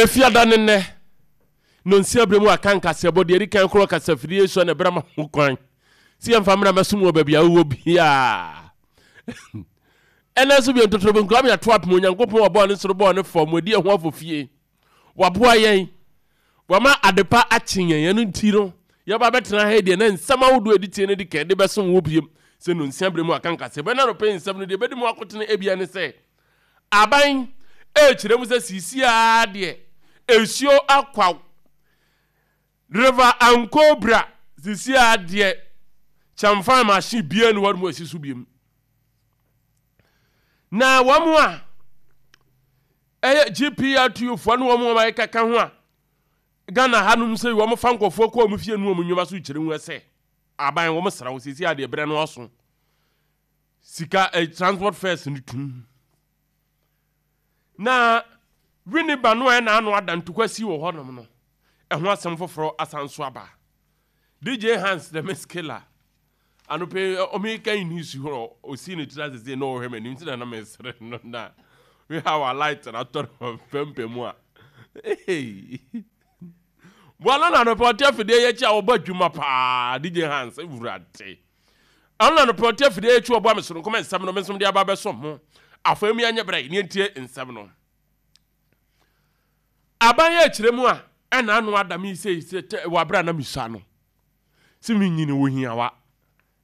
Efiada ne nnɛ, nnɔnsia berɛ mu aka nkaseɛbɔ deɛ ɛdi kan korɔ kasafidie sɔ na ɛbrɛ ma ho kwan sɛ yɛmfa mmra mɛsom wɔ baabi a wowɔ biara. Ɛnɛ nso bio ntotorobɛnkura me ato apem Onyankopɔn ɔbɔɔ ne soro bɔɔ ne fam wadi ɛho afofie. Waboa yɛn, wama adepa akye yɛn, ɛno nti no yɛba bɛtena ha yi deɛ na nsɛm ahodoɔ a ɛdi tie no di kan de bɛsom wo biem sɛ nnɔnsia berɛ mu aka nkaseɛbɔ. Ɛna anɔpa yi nsɛm no deɛ ɛbɛdi mu akotene ebia ne sɛ Aban rekyerɛ mu sɛ seesei ara deɛ nsuo akwaw River Ankobra seesei ara deɛ kyɛmfan machine biara ni hɔ nom asi so biom. Na wɔn a ɛyɛ GPRTU foɔ ne wɔn a ɛkeka ho a Ghana hanom sɛ wɔn fa nkurɔfoɔ kɔ wɔn fie ne wɔn nnwuma so kyerɛ mu sɛ aban wɔn sra wo seesei ara deɛ berɛ no aso. Sika eh, transport fares no tum. Na Winneba no a ɛna ano ada ntokwa si wɔ hɔnom no, ɛho asɛm foforɔ asan so aba. DJ Hans the Miss Killer, anɔpɛ yi ɔmeka yi news hɔ, ɔsii ne tiri ase sei na ɔhwɛ m'anim nti na na mesere no na we how a light na atɔ no pɛmpɛ mu a. Hey. Boa no na anɔpɛ ɔte afidie yɛ akyi a ɔbɔ adwuma paa DJ Hans wurade. Ɛno na anɔpa ɔte afidie akyi ɔboa me soronko ma nsɛm no me nso mede aba abɛsom mo. Afei mu yɛnyɛ berɛ ne yɛntie nsɛm no. Aban yɛ akyerɛ mu a ɛna ano ada me sei sɛ wɔ abere a na mesua no sɛ menyini wɔ hiawa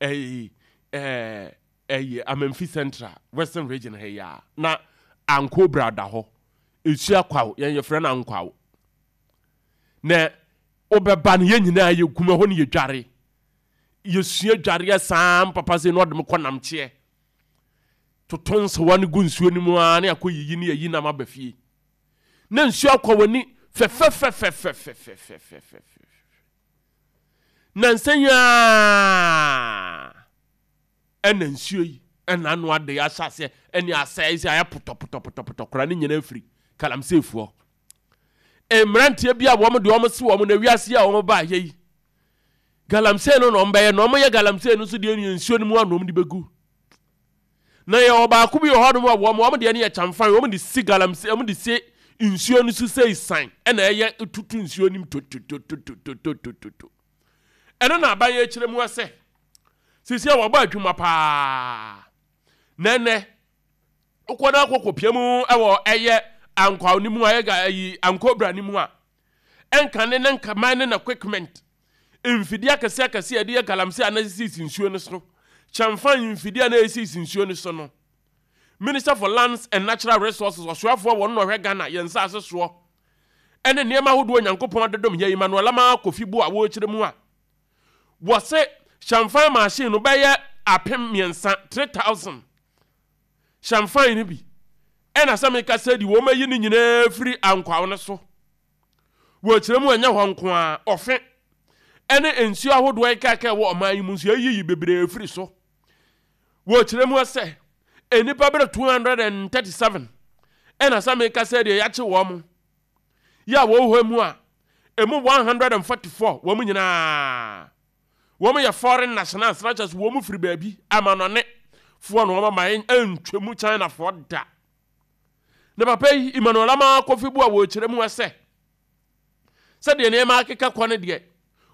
ɛyi ɛɛ ɛyi Amamfi Central Western Region ha yi a na Ankobra da hɔ esua kwaw yɛn yɛfrɛ no ankwaw na wobɛba no yɛn nyinaa yɛgum ɛhɔ no yɛdware Yɛsua dwareɛ saa mpapa sei na ɔde me kɔ namkyeɛ. Toto nsewa no gu nsuo no mu ara ne akɔ yiyi ne ayi nam aba fie. Na nsuo akɔ w'ani fɛfɛfɛfɛfɛfɛfɛfɛfɛfɛ. Nansa yi ara ɛna nsuo yi ɛna ano ade ahyɛ aseɛ ɛne asɛe sɛ ayɛ potɔpotɔpotɔpotɔ koraa ne nyinaa firi galamseyfoɔ. Mmeranteɛ bi a wɔn deɛ wɔn se wɔn na wiase yi a wɔn ba ayɛ yi Galamsey no na wɔn bɛyɛ na wɔn yɛ galamsey no nso deɛ no yɛ nsuo no mu a na wɔn de bɛgu. Na yɛ wɔ baako bi wɔ hɔ nom a wɔn wɔn deɛ no yɛ kyamfan wɔn de si galamsey wɔn de si nsuo no so sɛ san ɛna ɛyɛ tutu nsuo no mu totototototototo. Ɛno na aban yɛ kyerɛ mu sɛ sisi a wɔbɔ adwuma paa na ɛnɛ wokɔ na akɔkɔ pia mu ɛwɔ ɛyɛ ankwaw no mu a ɛyɛ ayi ankobra no mu a ɛnka ne ne nka mining equipment, mfidie akɛseɛ akɛseɛ a yɛde yɛ galamsey a na ɛsisi nsuo no so, kyɛmfan mfidie a na ɛsisi nsuo no so no. Minister for Lands and Natural Resources, ɔsoafoɔ wɔ no na ɔhwɛ Ghana, yɛn nsaase soɔ, ɛne nneɛma ahodoɔ Onyankopɔn de dom yɛn, Emmanuel Amaa Kofi Boa wɔrekyerɛ mu a, wɔse kyɛmfan machine no bɛyɛ 3000, 3000, hyɛmfan no bi ɛna sɛ meka sɛ di wɔn ayi no nyinaa firi ankwaw no so wɔ kyerɛ mu ɛnyɛ hɔ nko ara ɔfe ɛne nsuo ahodoɔ ɛkaka ɛwɔ ɔman yi mu nso yɛyiyi bebree firi so wɔ kyerɛ mu sɛ nnipa bɛrɛ 237 ɛna sɛ meka sɛ deɛ yɛakye wɔn mo yɛ a wɔwɔ hɔ mu a ɛmu 144 wɔn nyinaa Wɔn yɛ foreign nationals na kyerɛ sɛ wɔn firi baabi amanɔne foɔ na wɔn ama yɛn antwa mu China foɔ da. Na papa yi Emmanuel Amaa Kofi Boa wɔ kyerɛ mu sɛ sɛdeɛ nneɛma akeka kɔ no deɛ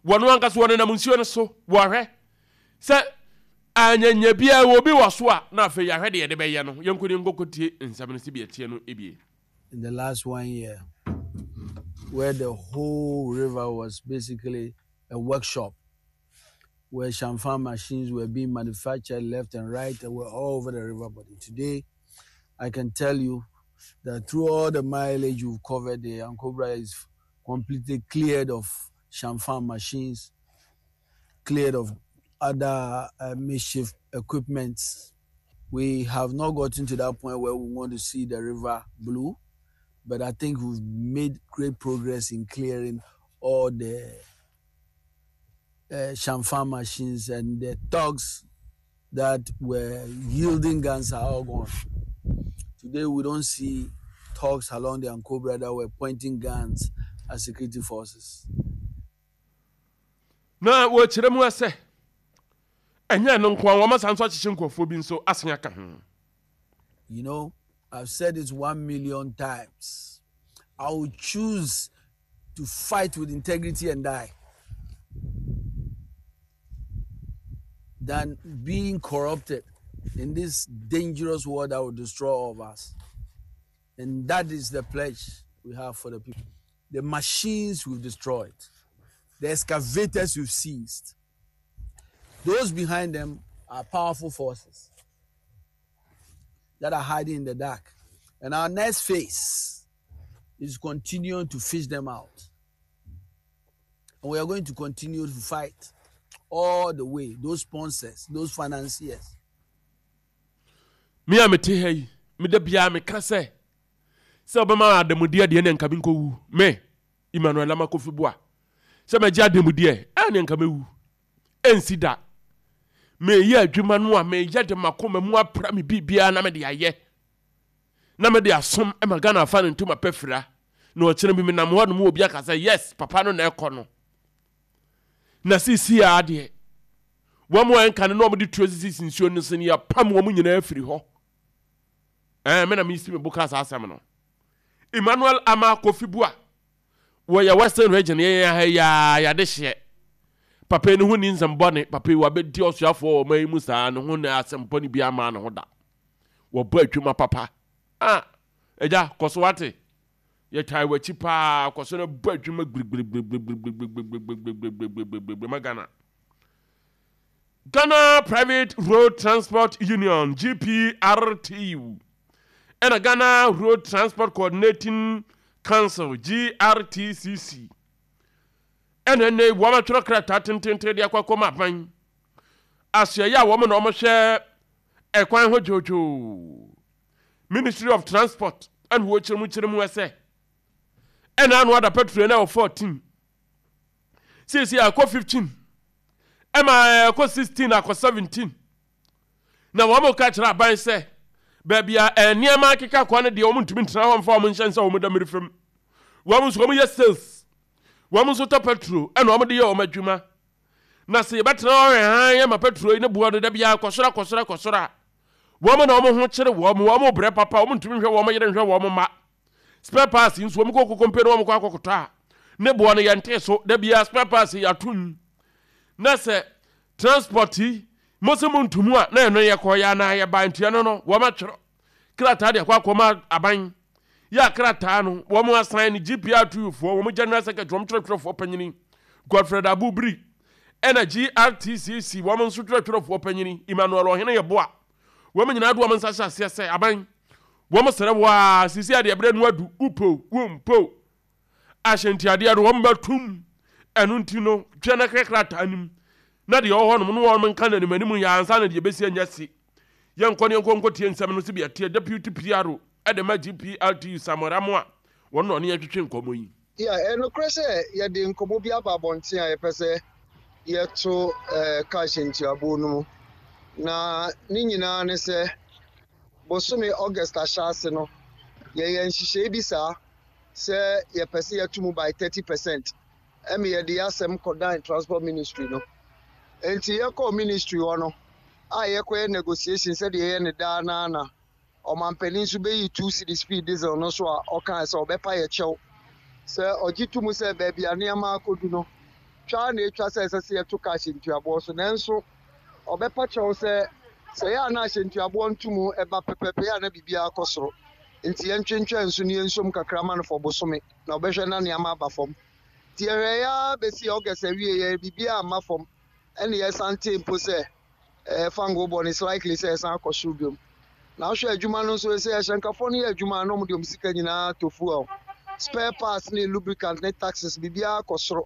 wɔn ankasa wɔnenam nsuo no so wɔhwɛ sɛ anyanya biara wɔ obi wɔ so a na afei yɛahwɛ deɛ yɛde bɛyɛ no yɛnkɔ ne nkɔkɔtie nsɛm no sɛ bi ɛteɛ no ebie. In the last one year where the whole river was basically a workshop where shamfan machines were being manufactured left and right and were all over the river body. Today, I can tell you that through all the mileage we've covered, the Ankobra is completely cleared of shamfan machines, cleared of other uh, makeshift equipment. We have not gotten to that point where we want to see the river blue, but I think we've made great progress in clearing all the uh, shamfan machines and the thugs that were yielding guns are all gone. Today we don't see thugs along the Ankobra that were pointing guns at security forces. Na wɔkyerɛ mu sɛ ɛnyɛ ɛno nko ara, wɔasan nso akyekye nkurɔfoɔ bi nso asen aka ho. You know, I've said it 1 million times. I will choose to fight with integrity and die than being corrupted in this dangerous world that will destroy all of us. And that is the pledge we have for the people. The machines we've destroyed, the excavators we've seized, those behind them are powerful forces that are hiding in the dark. And our next phase is continuing to fish them out. And we are going to continue to fight all the way, those sponsors, those financiers. Me a mete ha yi, me da biara meka sɛ, sɛ wobɛma adamudeɛ deɛ ne nka menkɔwu. Me, Emmanuel Armah Kofi Boah, sɛ mɛgye adanmudeɛ a, ɛneɛ nka mɛwu. Ɛnsi da. Meyɛ adwuma no a, meyɛ de m'akoma mu apra me biribiara na mede ayɛ. Na mede asom ma Ghana afa ne ntoma pɛ fira. Na ɔkyena bi menam hɔ nom obi aka sɛ, yes, papa no na ɛkɔ no. Na seesei ara deɛ, wɔn a ɛnka no na wɔde tuo sisi nsuo no so no, yɛapam wɔn nyinaa afiri hɔ. Ɛɛ, me na mesi me bo kaa saa asɛm no. Emmanuel Armah Kofi Buah Wɔyɛ Western Region yɛn ha yi ara yɛadehyeɛ. Papa yi ne ho nni nsɛm bɔne. Papa yi wabɛdi ɔsoafoɔ wɔ ɔman yi mu saa ne ho na asɛm bɔne biara mmaa ne ho da. Wɔbɔ adwuma papa. Ah, agya, kɔ so wate. Yɛtae w'akyi paa, kɔ so na bɔ adwuma gbirigbirigbirigbirigbirigbirigbirigbirigbirigbirigbirigbiri ma Ghana. Ghana Private Road Transport Union, GPRTU, ɛna Ghana Road Transport Coordinating Council, GRTCC, ɛna ɛnɛ yi wɔn atwerɛ krataa tententen de akɔ akɔma aban asoɛeɛ a wɔn na wɔhwɛ ɛkwan ho dwoodwoo Ministry of Transport ɛna wɔkyerɛ mu kyerɛ mu ɛsɛ ɛna ano ada petrol na ɛwɔ 14 Seesei akɔ 15, ɛma ɛkɔ 16 akɔ 17. Na wɔn ka kyerɛ aban sɛ baabi a nneɛma akeka kɔ no deɛ wɔn ntumi ntena hɔ mfa wɔn nhyɛ nsa wɔn da mmiri fam. Wɔn nso wɔn yɛ sales, wɔn nso tɔ petrol ɛna wɔn de yɛ wɔn adwuma. Na sɛ yɛbɛtena hɔ hwɛ hann ama petrol yi ne boɔ no da biara kɔ soro akɔ soro akɔ soro a, wɔn na wɔn ho kyere wɔn, wɔn brɛ papa, wɔn ntumi nhwɛ wɔn yere nhwɛ wɔn mma. Spare parts nso wɔn kɔ kokompe na wɔn kɔ akɔkɔtɔ a ne boɔ no yɛntee so da biara spare parts yi atom na sɛ transport yi mo sɛ mo ntomu a na ɛno yɛkɔ yɛ anaa yɛba nti ɛno no wɔn atwerɛ krataa de akɔ akɔma aban yɛ a krataa no wɔn asan no GPRTU foɔ wɔn general secretary wɔn twerɛtwerɛfoɔ panyini Godfred Abu Biri ɛna GRTCC wɔn nso twerɛtwerɛfoɔ panyini Emmanuel Ɔhene Yeboah Wɔn nyinaa de wɔn nsa hyɛ aseɛ sɛ, Aban, wɔsrɛ wo ara, seesei a deɛ berɛ no adu, wopɛ o, wompɛ o, ahyɛntiadeɛ no wɔmmɛtom. Ɛno nti no, twɛ na hwɛ krataa no mu, na deɛ ɛwɔ hɔnom no wɔn nka no animanim yɛ ansa na deɛ ɛbɛsi anya si. Yɛnkɔ ne yɛnkɔ nkɔtie nsɛm no sɛdeɛ ɛteɛ. Deputy PRO de ma GPRTU Samuel Amoah, wɔn na ɔne yɛn twetwe nkɔmmɔ yi. Yeah, ɛyɛ nokorɛ sɛ yɛde nkɔmmɔ bi aba abɔnten a yɛpɛ sɛ yɛto cash ntuabuo no mu. Na ne nyinaa ne sɛ, bosome August ahyɛase no, yɛyɛ nhyehyɛe bi saa sɛ yɛpɛ sɛ yɛto mu by 30 percent. Ɛma yɛde yɛn asɛm kɔdan Transport Ministry no. Enti yɛkɔɔ ministry hɔ no, a yɛkɔyɛ negotiation sɛdeɛ yɛyɛ no daa no ara na Ɔmanpanin nso beyii 2 cedis fii diesel no so a ɔkae sɛ ɔbɛpa yɛ kyɛw sɛ ɔgye to mu sɛ baabi a nneɛma akodu no, twa ara na etwa sɛ ɛsɛ sɛ yɛto ka ahyɛntuaboɔ so. Nanso ɔbɛpa kyɛw sɛ sɛ ɛyɛ a na ahyɛntuaboɔ ntomu ba pɛpɛɛpɛ yɛ a na biribiara kɔ soro nti yɛntwentwɛn so na yɛnsom kakra ma no for bosome na ɔbɛhwɛ na nneɛma aba fam. Nti yɛhwɛeɛ ara bɛsii August awieeɛ biribiara amma fam ɛna yɛsan tee mpo sɛ eh, fango bɔ no, it's likely sɛ ɛsan akɔ soro biom. Na wohwɛ adwuma no nso, sɛ ahyɛnkafoɔ no yɛ adwuma a na wɔde wɔn sika nyinaa tɔ fuel, spare parts ne lubricant ne taxes, biribiara kɔ soro.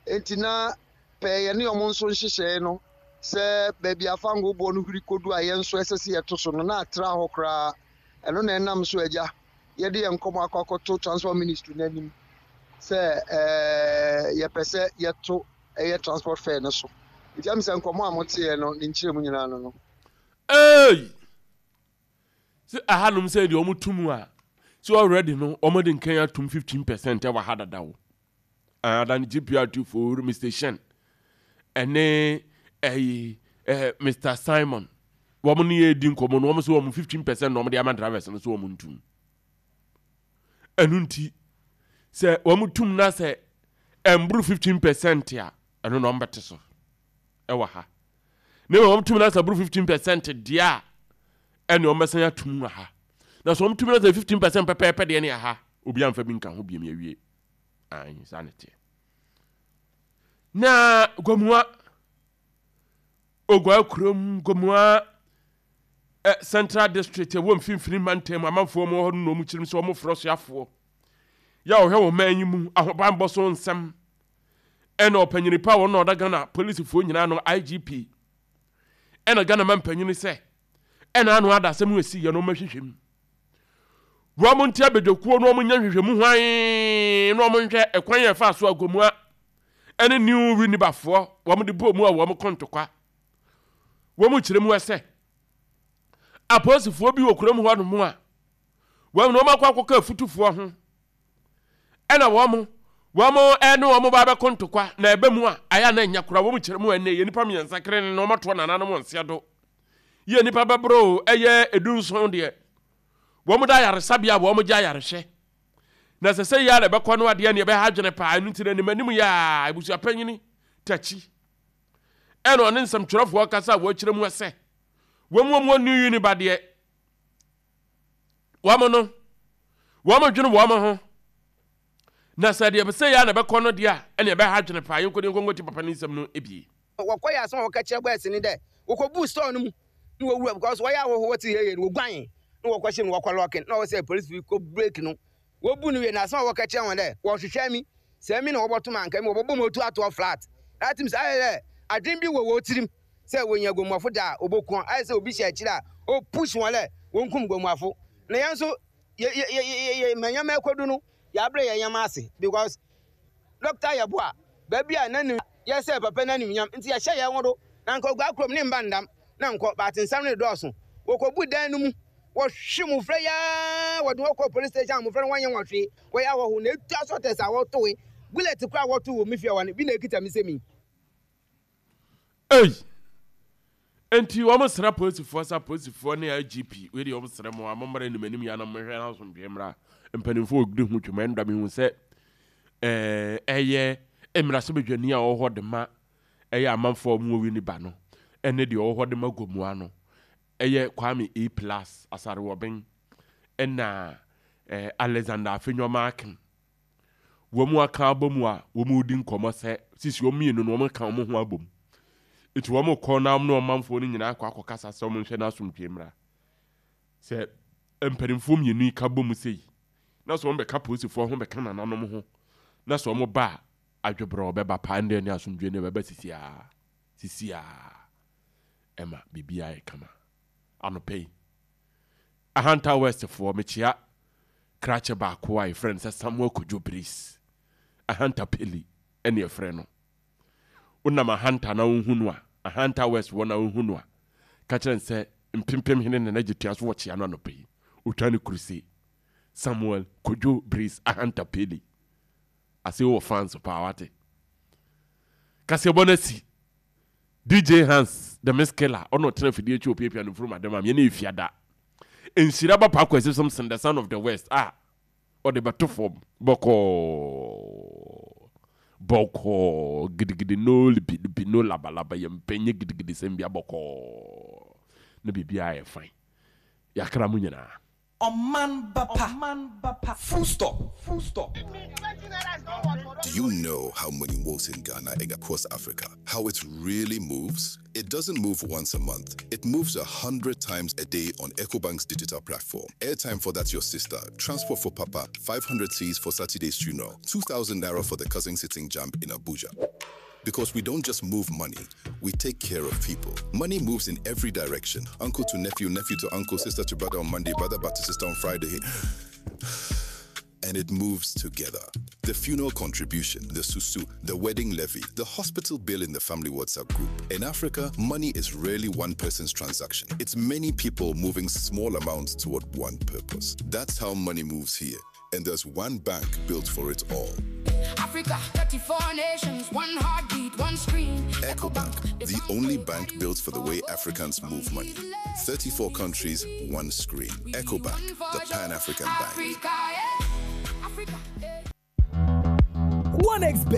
Enti na pɛɛ yɛne wɔn nso nhyehyɛe no sɛ baabi a fango boɔ no huri kɔdu a yɛn nso ɛsɛ sɛ yɛto so no, na atra hɔ koraa. Ɛno na ɛnam so agya yɛde yɛn nkɔmmɔ akɔ akɔto Transport Ministry no anim sɛ eh, yɛpɛ sɛ yɛto ɛyɛ transport fare no so. Nti ɛm sɛ nkɔmmɔ a moteeɛ no ne nkyerɛmu nyinaa no no. Eei! Sɛ ahanom sɛ deɛ wɔn to mu a, sɛ already no wɔn de nkan atum 15% ɛwɔ ha dada o. Ada no GPRT for Mr. Shen ɛne ɛyi ɛɛ Mr. Simon wɔn ne yɛ di nkɔmmɔ no wɔn sɛ wɔn 15% na wɔn de ama drivers no so wɔn ntum. Ɛno nti. Sɛ wɔn tum na sɛ ɛmboro 15 percent a, ɛno na wɔbɛte so ɛwɔ ha. Na mmom wɔn tum na sɛ ɛboro 15 percent deɛ a, ɛne wɔn bɛsan atum wɔ ha. Na sɛ wɔn tum na sɛ 15 percent pɛpɛɛpɛ deɛ ne aha, obi amfa bi nka ho biem yɛwie. Ayi saa ne teɛ. Na Gomoa, Oguaa kurom, Gomoa eh, Central District ɛwɔ mfimfini mantam amanfoɔ mu hɔ no na wɔn kyirim sɛ wɔn frɛ soafoɔ yɛ a ɔhwɛ wɔn man yi mu ahobanbɔ so nsɛm ɛna ɔpanyini pa wɔn na ɔda Ghana polisifoɔ nyinaa no IGP ɛna Ghana man panyini sɛ ɛna ano ada asɛm esi yɛ no wɔn ahwehwɛ mu wɔn nte abadwakuo no wɔn nyɛ nhwehwɛmu hwan na wɔn nhwɛ ɛkwan yɛ ɛfa so agomua ɛne New Winibafoɔ wɔn de bɔɔ mu a wɔn kɔ ntɔkwa. Wɔn kyerɛ mu sɛ apolisifoɔ bi wɔ kurom hɔ nom a wɔn na wɔn akɔ akɔka afutufoɔ ho ɛna wɔn wɔn ɛne wɔn ba abɛkɔ ntɔkwa na ɛbɛ mu a ayɛ na nya kora wɔn kyerɛ mu ɛnɛ yɛ nipa mmiɛnsa kere ne na wɔn atoɔ nananom wɔn nsia do yɛ nipa bɛboro ɛyɛ edunson deɛ wɔn da ayaresabea a wɔn gye ayarehwɛ. Na ɛsɛ sɛ yɛ ara na ɛbɛkɔ no adeɛ ne ɛbɛha adwene paa ɛno nti no anim anim yɛ a abusuapanyini takyi ɛna ɔne nsɛmtwerɛfoɔ kasa a wɔakyerɛ mu sɛ wɔn wɔn wɔn new uni ba deɛ wɔn no wɔn dwene wɔn ho na sɛ deɛ sɛ yɛ ara na ɛbɛkɔ no deɛ a ɛne ɛbɛha adwene paa yɛnkɔ de nkɔnkɔ ti papa ne nsɛm no ebie. Wɔkɔyɛ asɛm a wɔka kyerɛ boys no dɛ wɔkɔbuu store no mu na wɔwura because wɔyɛ ahɔho wɔtse hehe no woguanee na wɔkɔhyɛ mu na wɔkɔ lɔɔke no na ɔwɔ sɛ polisifo yi kɔ break no wobu no wie na asɛm a wɔka kyerɛ hɔn dɛ wɔhwehwɛ emi sɛ emi na wɔbɔto me a anka emi wɔbɔbɔ mu otu atoɔ flat na atse mu sɛ ayɛ dɛ adwen bi wɔ hɔn tsirim sɛ wonya guamuafo da a woboku hɔn ayɛ sɛ obi hyɛ ekyir a opush hɔn dɛ wonkum guamuafo na hɛn so yɛ yɛ yɛ yɛ ma ndzɛmba ekodu no yɛabrɛ hɛn ndzɛmba ase because Dɔkta Yeboah, baabi a n'anim yɛ sɛ papa n'animnyam nti yɛhyɛ yɛn ho do na anka oguaa kurom ne mba ndam na nkɔ but nsɛm no redɔɔso. Wɔkɔbu dan no mu, wɔhwe mmofra yi ara wɔde wɔn kɔɔ police station a mmofra no wɔnyɛ wɔn hwee, wɔyɛ ahɔho na etu asɔtɛs a wɔtoe, bullet koraa a wɔtoo wɔ me fie hɔ no bi na ekita me sɛ mi. Ei! Enti wɔn srɛ apolisifoɔ sɛ apolisifoɔ ne IGP wei deɛ wɔn srɛ mo a mo mmra anim anim yɛ na mo hwɛ na asomdwoeɛ mmra. Mpanimfoɔ wɔ di ho dwuma ɛnda mehu sɛ ɛɛ ɛyɛ mmarahyɛbadwani a ɔwɔ hɔ de ma ɛyɛ amanfoɔ a wɔn wɔ Winneba no ɛne deɛ ɔwɔ hɔ de ma Gomoa no ɛyɛ Kwame E plus Asarewɔben ɛna ɛɛ Alexander Afenyo-Markin. Wɔn aka abɔ mu a wɔredi nkɔmmɔ sɛ sisi wɔn mmienu no wɔka wɔn ho abom. Nti wɔn kɔ na wɔn ne ɔmanfoɔ no nyinaa akɔ akɔkasa sɛ wɔn nhwɛ na asomdwoeɛ mmra. Sɛ mpanimfoɔ mmienu yi ka bɔ mu sei na sɛ wɔn bɛka polisifoɔ ho bɛka nananom ho na sɛ wɔn ba a adwebrɛ ɔbɛba paa ɛndeɛ ne asomdwoeɛ no ɛbɛba sisiaa sisiaa ɛma biribiara yɛ kama anɔpa yi. Ahanta West foɔ mekyea krakye baako a yɛfrɛ no sɛ Samuel Kojo Brice, Ahanta Peli ɛne yɛfrɛ no. Wonam Ahanta na wohu no a, Ahanta West wɔ na wohu no a, ka kyerɛ no sɛ Mpempem Hene Nana Gyetua so wɔkyea no anɔpa yi. Otwa ne kuruse. Samuel Kojo Brice Ahanta Peli. Ase wɔ fans paa wate. Kaseɛbɔ no asi. DJ Hans the Miss Killer ɔna ɔtena afidie akyi opiapia no mfurum ade ma me ɛna efiada. Nhyira ba Paa Kwasi Simpson the son of the west a ɔde bɛto fam bɔkɔɔ bɔkɔɔ gidigidi no lipi lipi no labalaba yɛ mpɛ nyɛ gidigidi sɛm bia bɔkɔɔ na biribiara yɛ fine yɛakra mo nyinaa. Ɔman ba pa. Full stop. Full stop. Do you know how money works in Ghana and across Africa? How it really moves? It doesn't move once a month. It moves 100 times a day on EcoBank's digital platform. Airtime for that's your sister, transport for papa, 500 C's for Saturday's funeral, 2,000 naira for the cousin sitting jump in Abuja. Because we don't just move money, we take care of people. Money moves in every direction. Uncle to nephew, nephew to uncle, sister to brother on Monday, brother back to sister on Friday. And it moves together. The funeral contribution, the susu, the wedding levy, the hospital bill in the family WhatsApp group. In Africa, money is rarely one person's transaction. It's many people moving small amounts toward one purpose. That's how money moves here. And there's one bank built for it all. Africa, 34 nations, one heartbeat, one screen. EcoBank, the only bank built for the way Africans move money. 34 countries, one screen. EcoBank, the Pan African bank. Africa, yeah. Africa, yeah. 1xBet.